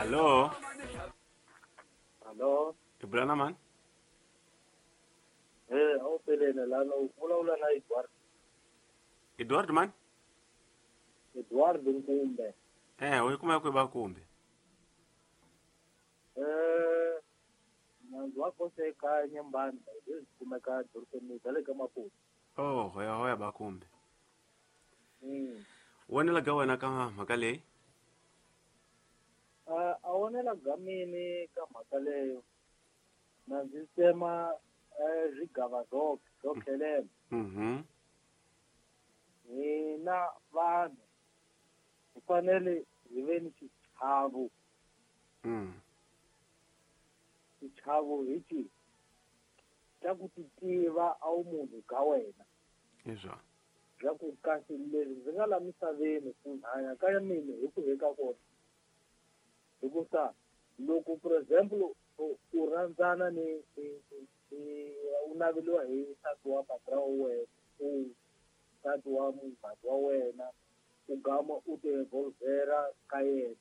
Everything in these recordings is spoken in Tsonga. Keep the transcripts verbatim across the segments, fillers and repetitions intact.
Hallo. Hallo. I bula na mani? Eh, a wu pelene lana u vulavula na Edward. Edward mani? Edward Nkumbe. Eh, u yi kuma kwihi Bakumbe? Eh, nandzu wa kose eka Nyembani leswi kumeka dorobeni bya le ka Maputo. Oh, hoya hoya Bakumbe. Mm. Wonela ga wena ka mhaka leyi? A a wonela ga mini ka mhaka leyo. Na ndzi tsema eh zwigava zwo zwo khelela. Mhm. Hina vanhu hi fanele hi ve ni xichavo. Mm. Xichavo hi xihi? Xa ku ti tiva a wu munhu ka wena. Izwa. Bya ku kasi leswi ndzi nga la misaveni ku hanya ka mina hi ku heka kona. Hikusa loko for example u u rhandzana ni ni ni u naveliwa hi nsati wa patra wa wena u nsati wa munghana wa wena u gama u ti revolvera ka yena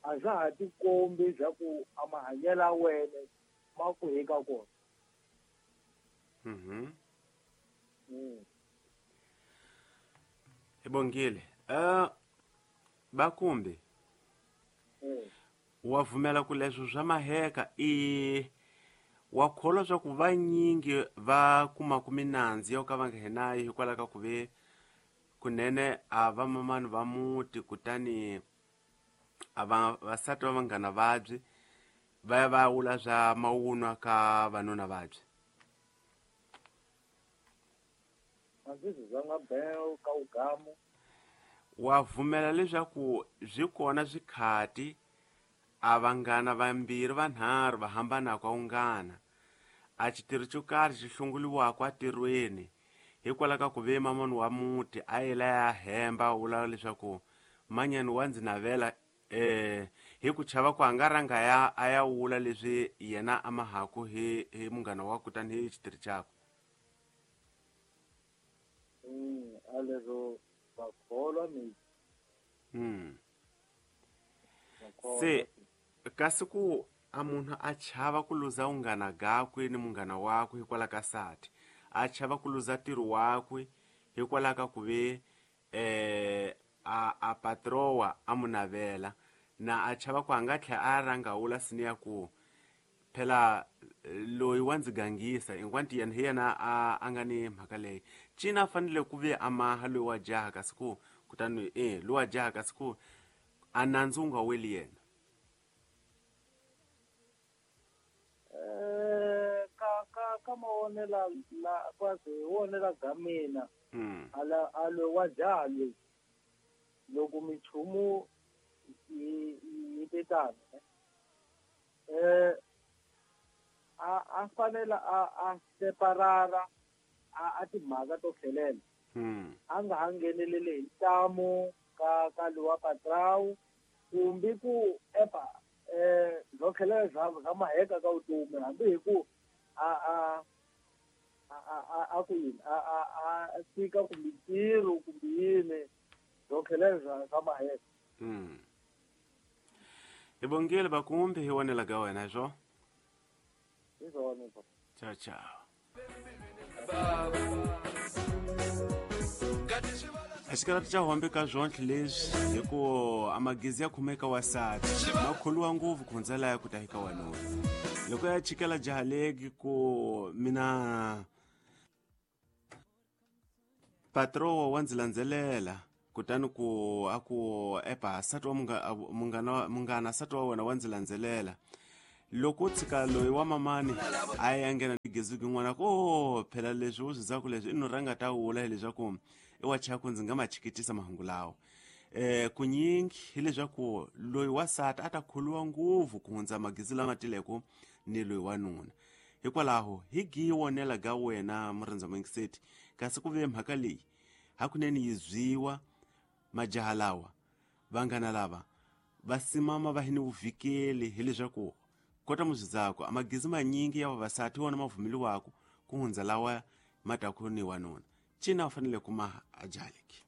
a swa ha tikombi bya ku a mahanyelo ya wena ma ku heka kona. Mhm. Mm. Ibongile. Eh Bakumbe. Mm. Wa vumela ku leswo swa maheka i wa kholwa swa ku vanyingi va kumaku minandzu yo ka va nga henayo hikwalaho ka ku ve kunene a va mamani va muti kutani a va vasati va vanghana vabyi va ya va wula swa mawunwa ka vanuna vabyi. A ndzi swi zanga beo ka ugamu. Wa vumela leswaku byi kona swikhati a vanghana vambirhi vanharhu va hambanaka unghana a xitirho xo karhi xi hlongoliwaka entirhweni hikwalaho ka ku ve mamani wa muti a yela ya hemba wula leswaku manyani wa ndzi navela eh hi ku chava ku a nga rhanga ya a ya wula leswi yena a mahaku hi hi munghana wa kutani hi xitirho xakwe. Mm, a leswo va kholwa mi. Mm. Va kholwa. Se kasi ku a munhu a chava ku luza unghana gakwe ni munghana wakwe hikwalaho ka sati a chava ku luza ntirho wakwe hikwalaho ka ku ve eh a a patrowa a mu navela na a chava ku a nga tlhela a rhanga wula sini ya ku phela loyi wa ndzi gangisa hinkwanti yena hi yena a a nga ni mhaka leyi cina a fanele ku ve a maha loyi wa jaha kasi ku kutani eh loyi wa jaha kasi ku a nandzu wu nga weli yena. Eh ka ka ka mavonela la kwazi wonela ga mina. Mm. Ala a loyi wa jaha loyi loko minchumu yi yi te tano eh a a fanele a a separara a a timhaka to tlhelela. Mm. A nga ha ngheneleli hi ntamu ka ka lowa patrawu kumbe ku epa eh byo tlhelela bya bya maheka ka vutomi hambi hi ku a a a a a ku yini a a a tshika kumbe ntirho kumbe yini byo tlhelela bya bya maheka. Mm. Hi bongile Bakumbe hi wonela ka wena swo. Hi swona swo. Ciao ciao. Xikarati xa hombe ka zwontlhe leswi hi ku a magezi ya khomeka wasati ma kholiwa ngopfu ku hundza laya ku ta hika wanuna loko ya chikela jaha legi ku mina patrowa wa ndzi landzelela kutani ku a ku epa nsati wa munghana munghana nsati wa wena wa ndzi landzelela loko u tshika loyi wa mamani a ya nghena ni gezuki n'wana ku o phela leswi u swi zaku leswi i no rhanga ta wula hileswaku i wa chaku ndzi nga ma chikitisa mahungu lawa eh kunyingi hileswaku loyi wasati a ta kholiwa ngopfu ku hundza magezi lama tileko ni loyi wa nuna hikwalaho hi gi wonela ga wena murhandza mingiseti kasi ku ve mhaka leyi hakunene yi zwiwa majaha lawa vanghana lava va simama va hi ni vuvikeli hileswaku kota muzvidzako amagezi manyingi ya vavasati wona mavumeliwako ku hundza lawa ma taku ni wanuna cina u fanele kuma ajaleki.